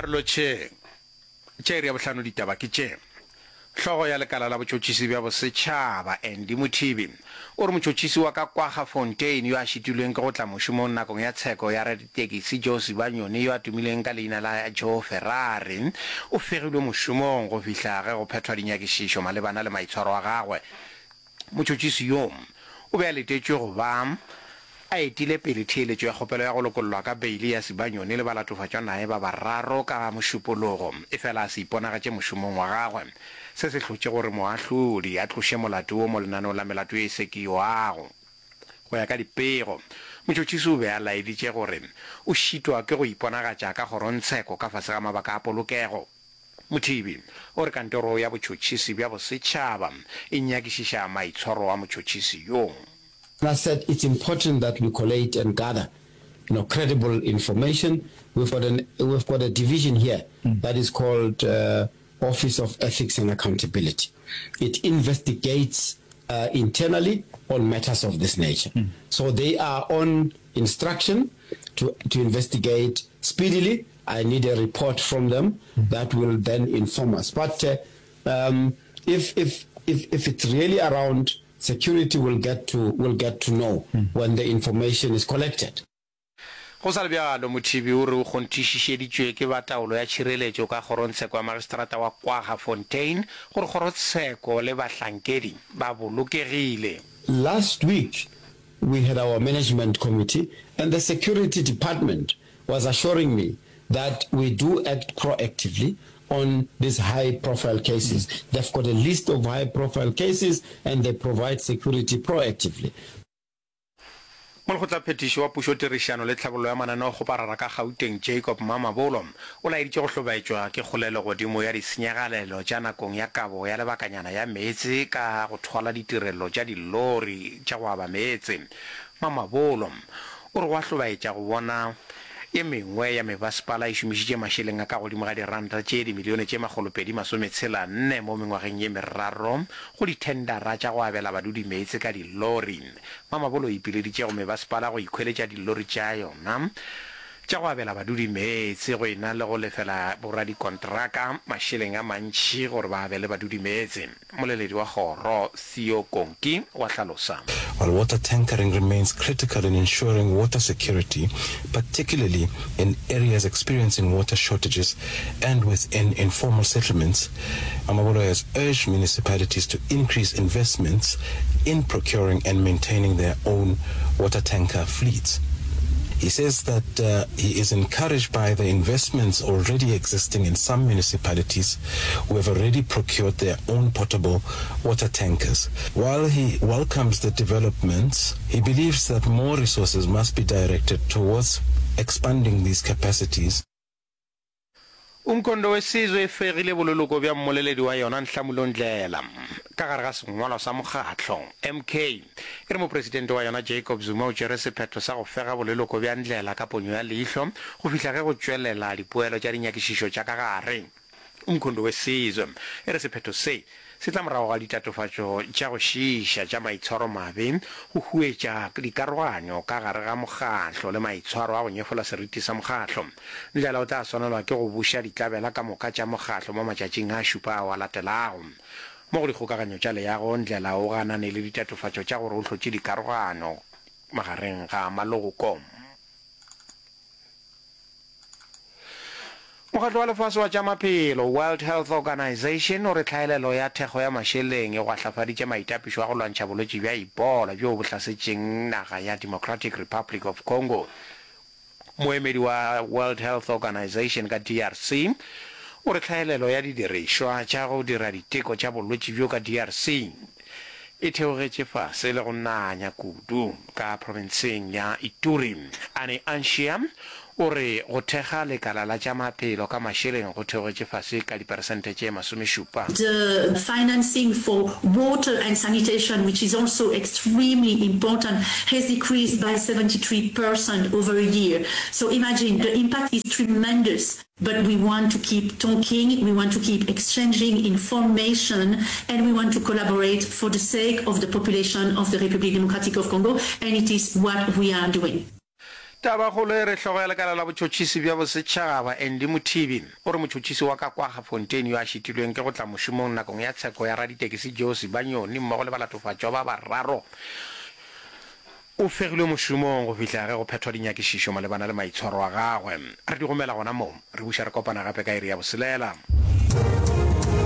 A re lotšheng. Tša iri ya bohlano ditaba ke tše. Hlogo ya lekala la botšhotšhisi bja bosetšhaba, Andy Mothibi, o re motšhotšhisi wa ka Kwaggafontein yo a šitilweng ke go tla mošomong nakong ya tsheko ya raditekisi Joe Sibanyoni yo a tumileng ka leina la Joe Ferrari o fegilwe mošomong go fihla ge go phethwa dinyakišišo malebana le maitshwaro a gagwe. Motšhotšhisi yo o be a letetšwe go ba a etile pele theeletšo ya kgopelo ya go lokollwa ka beili ya Sibanyoni le balatofatšwa naye ba bararo ka Mošupologo, efela a se iponagatše mošomong wa gagwe. Se se hlotše gore moahlodi a tloše molato wo mo lenaneong la melato ye e sekiwago. Go ya ka dipego, motšhotšhisi o be a laeditše gore o šitwa ke go iponagatša ka kgorongtsheko ka fase ga mabaka a polokego. Mothibi o re kantoro ya botšhotšhisi bja bosetšhaba e nyakišiša maitshwaro a motšhotšhisi yo. And I said it's important that we collate and gather you know credible information, we've got an we've got a division here that is called Office of Ethics and Accountability, it investigates internally on matters of this nature, so they are on instruction to to investigate speedily I need a report from them that will then inform us. But um, if, if, if, if it's really around security, we'll get to, we'll get to know when the information is collected. Go sa le bjalo, Mothibi o re o kgonthišišeditšwe ke ba taolo ya tšhireletšo ka kgorongtsheko ya magistrata wa Kwaggafontein gore kgorotsheko le bahlankedi ba bolokegile. Last week we had our management committee and the security department was assuring me that we do act proactively on these high profile cases. They've got a list of high profile cases and they provide security proactively. Molekgotlaphethiši wa Pušo Tirišano le Tlhabollo ya Mananeokgoparara ka Gauteng Jacob Mamabolo o laeditše go hlobaetšwa ke kgolelo godimo ya disenyagalelo tša nakong ya kabo ya lebakanyana ya meetse ka go thwala ditirelo tša dilori tša go aba meetse. Mamabolo o re go a hlobaetša go bona ye mengwe ya mebasepala e šomišitše mašeleng a ka godimo ga diranta tše dimilione tše makgolopedi-masometshela-nne mo mengwageng ye meraro go dithendara tša go abela badudi meetse ka dilori. Mamabolo o ipileditše go mebasepala go ikhweletša dilori tša yona tša go abela badudi meetse go e na le go lefela boradikontraka mašeleng a mantši gore ba abele badudi meetse. Mmoleledi wa kgoro, Theo Konki, wa hlalosa. While water tankering remains critical in ensuring water security, particularly in areas experiencing water shortages and within informal settlements, Mamabolo has urged municipalities to increase investments in procuring and maintaining their own water tanker fleets. He says that uh, he is encouraged by the investments already existing in some municipalities who have already procured their own portable water tankers. While he welcomes the developments, he believes that more resources must be directed towards expanding these capacities. Umkhonto weSizwe e fegile boleloko bja mmoleledi wa yona Nhlamulo Ndhlela ka gare ga sengwalwa sa mokgatlo. MK e re mopresidente wa yona Jacob Zuma o tšere sephetho sa go fega boleloko bja Ndhlela ka ponyo ya leihlo go fihla ge go tšwelela dipoelo tša dinyakišišo tša ka gare. Umkhonto weSizwe e re sephetho se se tla morago ga ditatofatšo tša go šiiša tša maitshwaromabe, go huetša dikaroganyo ka gare ga mokgatlo le maitshwaro a go nyefola seriti sa mokgatlo. Ndlela o tla swanelwa ke go buša ditlabela ka moka tša mokgatlo mo matšatšing a šupa ao a latelago. Mo go dikgokaganyo tša leago, Ndlela o ganane le ditatofatšo tša gore o hlotše dikarogano magareng ga maloko. Mokgatlo wa Lefase wa tša Maphelo, World Health Organization, o re tlhaelelo ya thekgo ya mašeleng e gwahlafaditše maitapišo a go lwantšha bolwetši bja Ebola bjoo bo hlasetšeng naga ya Democratic Republic of Congo. Moemedi wa World Health Organization ka DRC o re tlhaelelo ya didirišwa tša go dira diteko tša bolwetši bjo ka DRC e theogetše fase le go nanya kudu ka profenseng ya Ituri. Anne Anshia o re go thekga lekala la tša maphelo ka mašeleng go theogetše fase ka diperesente tše masomešupa. The financing for water and sanitation, which is also extremely important, has decreased by 73 percent over a year. So imagine, the impact is tremendous. But we want to keep talking, we want to keep exchanging information, and we want to collaborate for the sake of the population of the Republic Democratic of Congo, and it is what we are doing. Tabakgolo e re hlogo ya lekala la botšhotšhisi bja bosetšhaba, Andy Mothibi, o re motšhotšhisi wa ka Kwaggafontein yo a šitilweng ke go tla mošomong nakong ya tsheko ya raditekesi Joe Sibanyoni mmogo le balatofatšwa ba bararo o fegilwe mošomong go fihla ge go phethwa dinyakišišo malebana le maitshwaro a gagwe. Re di gomela gona mo. Re buša re kopana gape ka iri ya boselela.